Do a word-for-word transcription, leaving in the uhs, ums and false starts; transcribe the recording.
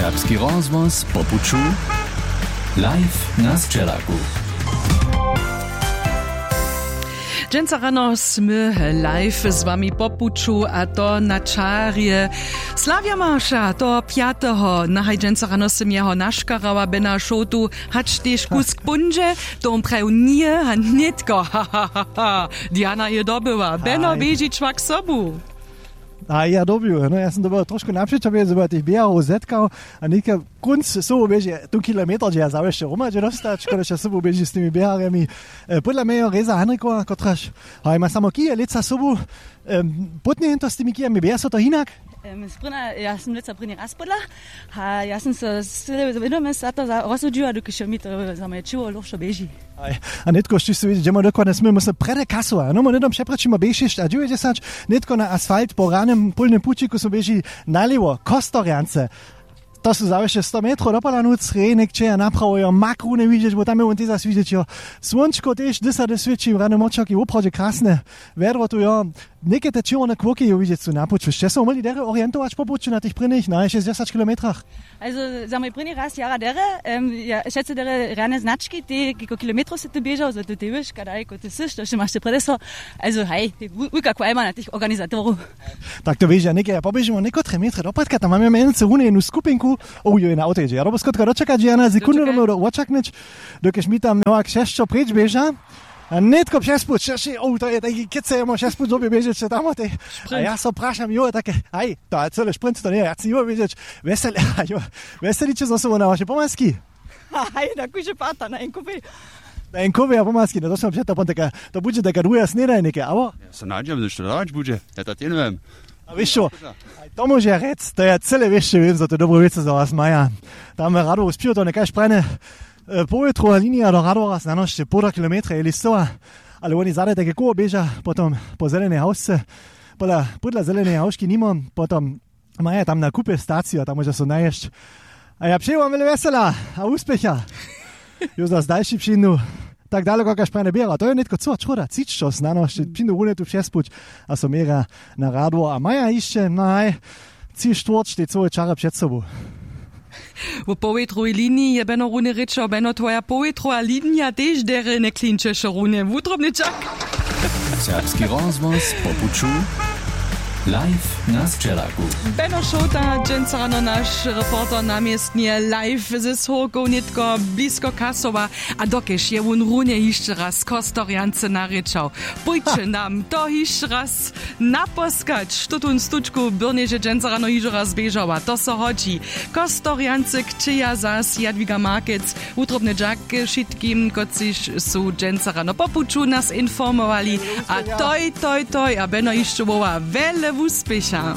Serbski rozhłos po puću. Live na sćelaku. Dźensa rano smy live z wami po puću, a to na čarje sławjamarša toho pjateho. Nahaj dźensa rano sym jeho naškarała, bena šołtu, hač tež kusk póńdźe. To wón prajił, nje, a nětko, ha, ha, ha, ha, Diana je dobyła, beno běži čłak sobu. A ja dobił, no, ja sam dobył trošku napřećo, wěc zo tych běharow zetkał. A něka kónc sobu běži tu kilometr, dźe ja zawěsće hromadźe dostać, škoda, sobu běži z tymi běharjemi. Podla mjejo Reza Hanrikowa, kotraž haj ma samo kije lětsa sobu. Pótnje jen to z tymi kijemi běha so to hinak? Sprěna ja sam lětsa prěni raz podla, a ja sam so syle wědome za to rozsudźiła, dokelž jo mi to za moje ćěło lóhšo běži. A nětko štyž su widźeć, dźemo dokładnje smy mysle prjedy kasowa, no my hnydom přepraćimo bě šěsć a dźewjećdźesać. Nětko na asfalt po ranym pólnym pućiku su běži nalěwo kostorjance. To su zawěsće sto metrow do pola nóc, rejnik ćeja naprawo jo mak runje widźeć, bo tam je wón tež zas widźeć jo. Słónčko tež dysady swěći, rany močoki woprawdźe krasne. Wjedro tu jo. Někaj te čěrwone kłowki jo widźeć su na puću, sće so móhli derje orientować po puću na tych prěnich na šěsćdźesać kilometrach? Za mój prěni raz jara derje. Wšetcy derje rjane znački, te kiko kilometrow sy ty běžał, zo ty tewiš kadaj kóte syš to wšě maš ty prjedy so. Alzo haj, wulka kwajma na tych organizatorow. Tak to wěža někaj ja poběžimo někotre metre dopadka, tam mamy mjenujcy runje jednu skupinku. Ow jo je na awto jědźe ja dobo skotka dočekać, ja na sekundu domył do wočaknyć, dokelž mi tam nowak šesćo preč běža. A nětko přespuć šesći ow to je tajki kětce jemo šespuć době běžeće tamotej. A ja so prašam jo take, haj, to a cyle šprint to njeje ja chci jo wědźeć. Wjeseliće zo sobu na waše pomaski? Haj, na kuše parta na jen kufej. Na jen kufej a pomaski, no to smy před to pon taka, to budźe taka druha snědaj něke awo? Ja so nadźam zo što dawać budźe. Ja to tě nowem. A wěš čo, to móže rjec, to ja cyle wěsće wěm zo to dobre wěcy za was maja. Tam radow spěł to nekaž prajne. Powětrowa linija do radwora znanošće połda kilometra je listowa. Ale woni zadaj take koło běža potom po zelenej hawsce. Pola pódla zelenej hawški nimo potom maja tam na kupje staciju a tam móža so naješć. A ja přeju wam wjele wjesela a wuspěcha. Józas dalši přińdu. Tak daleko kaž prajne běra to je nětko cyła čroda třičćo znano sće přińdu runje tu přespuć. A so měrja na radło a maja hišće naj tři štwórć tej cyłej čary před sobu. Wo powětrowej liniji je beno runje rěčał beno twoja powětrowa linija tež derje njeklinčeše runje wutrobny čak. Serbski rozhłos po puću. Live na sćelaku. Beno šołta dźensa rano naš reporter na městnje live ze słowkow nětko blisko kasowa. A dokelž je wón runje hišće raz kostorjance narěčał. Pójće nam to hišće raz naposkać što tón stučku byrnježe dźensa rano hižo raz běžała to so hodźi. Kostorjance kćeja zas jadwiga markec. Wutrobny dźak wšitkim kotřiž su dźensa rano po puću nas informowali. A toj toj toj a beno hišće woła wjele wuspěcha.